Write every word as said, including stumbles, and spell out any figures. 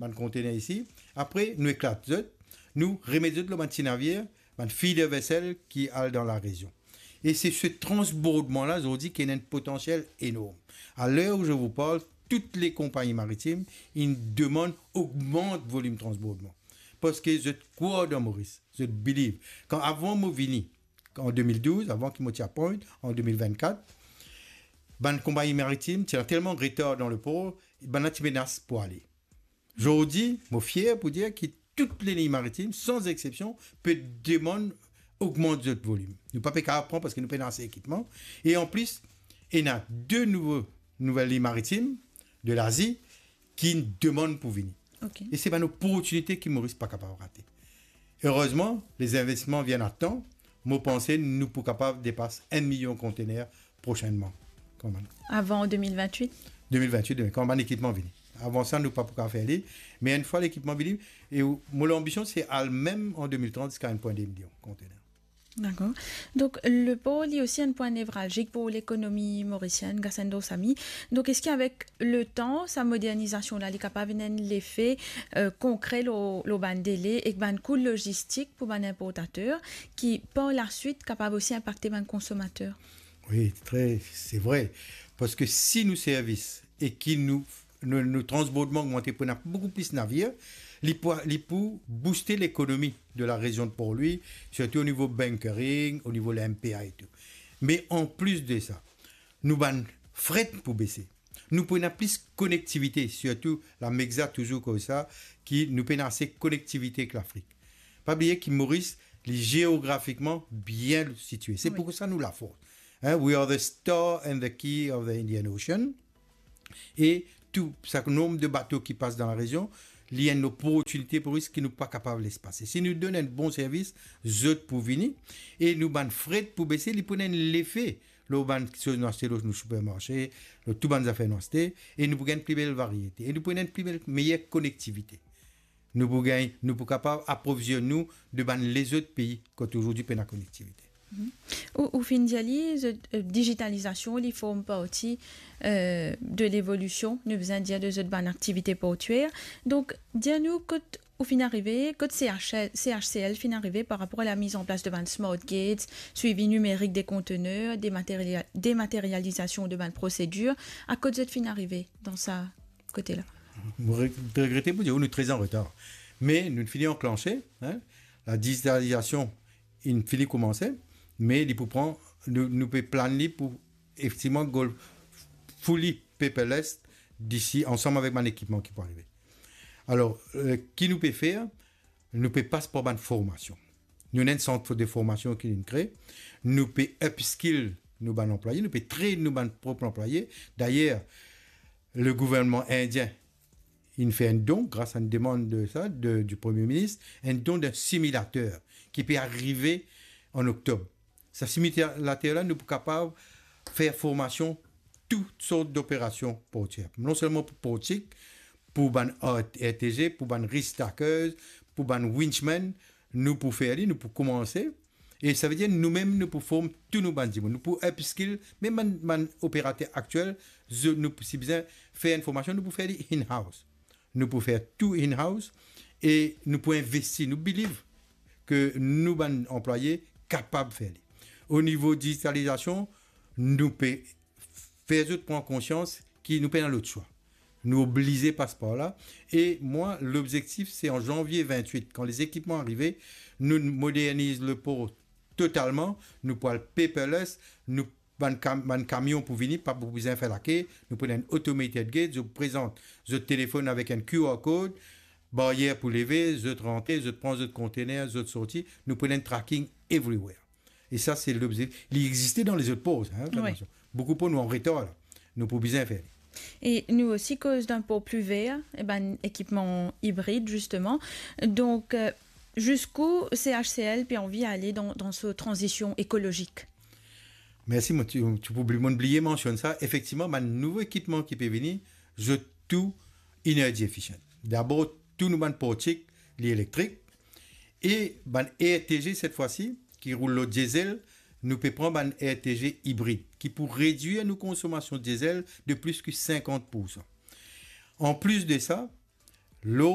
bann kontener isi, apre nou eklat zot, nou remet zot lor bann ti navir, bann feeder vessel ki al dan larezion. E se, se transbordman la, zordi, ki ena enn potansiel enorm. À l'heure où je vous parle, toutes les compagnies maritimes, ils demandent, augmente volim transbordman. Parski zot krwar dan Moris, zot believe. Kan avan mo vini, an de mil douz, avan ki mo ti appoint, an de mil vennkat, bann konpagni maritim ti ena telman retar dan lepor, bannla ti menas pou ale. Zordi, mo fier pou dir ki tou leliy maritim, san exsepsion, pe demann ogmant zot volim. Nou pa pe kapav pran parski nou pena ase ekipman. E anplis, ena de nouvo, nouvel liy maritim de Lazi ki demann pou vini. Ok. E se bann oportinite ki Moris pa kapav rate. Erezman, lezinvestisman vinn a tan. Mo panse nou pou kapav depas enn milion kontener prosennman, kan bann Avan de mil vennwit? de mil vennwit, kan bann ekipman vini. Avan sa, nou pa pou kapav fer li. Me enn fwa lekipman vini, e ou-, mo lanbision, se al mem an de mil trant ziska enn pwin de milion kontener. Dakor. Donk, lepor, li osi enn pwin nevralzik pou lekonomi morisienn, Gasendo Samy. Donk, eski avek letan, sa modernizasion la, li kapav ena enn lefe, eh, konkre lor, lor bann dele ek bann kou lozistik pou bann inportater, ki par laswit kapav osi inpakte bann konsomater? Wi, tre, se vre. Parski si nou servis e ki nou, nou, nou transbordman ogmante pou ena boukou plis navir, li pou, li pou bouste lekonomi de larezion de Port-Louis, sirtou o nivo bunkering, o nivo le M P A e tou. Me anplis de sa, nou bann fret pou bese. Nou pou ena plis konektivite, sirtou la MEGSA touzour koz sa, ki nou pena ase konektivite ek Lafrik. Pa bliye ki Moris, li zeografikman bien sitie. Se Wi. pou sa nou lafort. Hein, we are the star and the key of the Indian Ocean. E tou sa nomb de bato ki pas dan larezion, li enn oportinite pou Moris ki nou pa kapav les pase. Si nou donn enn bon servis, zot pou vini, e nou bann fret pou bese, li pou ena enn lefe lor bann kiksoz nou aste lor nou sipermarse, lor tou bann zafer nou aste, e nou pou gagn pli bel variete, e nou pou ena enn pli bel, meyer konektivite. Nou pou gagn, nou pou kapav aprovizionn nou de bann lezot pei kot zordi pena konektivite. Mhm. Ou, ou finn dir li, zot, eh, digitalizasion, li form parti, eh, de levolision, nou bizin dir, de zot bann aktivite portyer. Donk, dir nou kot ou finn arive, kot C H L, C H C L finn arive par rapor a la miz an plas de bann smart gates, swivi nimerik de kontener, demateria-, dematerializasion de bann prosedir, a kot zot finn arive dan sa kote la? Mo re-, regrete pou dir, nou tre an retar. Me nou fini anklanse, hein, la digitalizasion, inn fini koumanse, me li pou pran, nou, nou pe plan li pou efektivman go fully paperless disi, ansam avek bann ekipman ki pou arive. Alor, eh, ki nou pe fer? Nou pe pas par bann formasion. Nou ena enn sant de formasion ki nou'nn kree. Nou pe upskill nou bann anplwaye, nou pe train nou bann prop anplwaye. Dayer, le gouvernman indien, inn fer enn don, gras a enn demann de sa, de, du Premie Minis, enn don de similater ki pe arive an oktob. Sa similater la, nou pou kapav fer formasion tou sort doperasion portyer. Non selman pou portik, pou bann R-, R T G, pou bann reach stackers, pou bann winchman, nou pou fer li, nou pou koumanse. E savedir nou mem, nou pou form tou nou bann dimoun. Nou pou upskill, mem bann, bann operater aktiel, zo-, nou pou, si bizin fer enn formasion, nou pou fer li in-house. Nou pou fer tou in-house e nou pou investi, nou believe ke nou bann anplwaye kapav fer li. O nivo digitalizasion, nou pe fer zot pran konsians ki nou pena lot swa. Nou oblize pas par la. E mwa, lobzektif, se an zanvie vennwit, kan lezekipman arive, nou moderniz lepor totalman, nou pou al paperless, nou bann kam-, bann kamion pou vini, pa pou bizin fer lake, nou pou ena enn automated gate, zot prezant zot telefonn avek enn Q R code, baryer pou leve, zot rantre, zot pran zot kontener, zot sorti, nou pou ena enn tracking everywhere. E sa, se lobze-, li existe dan lezot por, hein, Wi. Boukou por nou an retar la. Nou pou bizin fer li. E nou osi koz dan por pli ver, e bann ekipman ibrid, zisteman. Donk, eh, ziska C H C L pe anvi ale dan, dan so tranzision ekolozik? Mersi, mo ti, ti pou bli-, mo'nn bliye mansionn sa. Efektivman, bann nouvo ekipman ki pe vini, zot tou energy efficient. Dabor, tou nou bann portik, li elektrik. E bann R T G, set fwa si, ki roul lor diesel, nou pe pran bann R T G ibrid, ki pou redwir nou konsomasion diesel de plis ki sinkant poursan. Anplis de sa, lor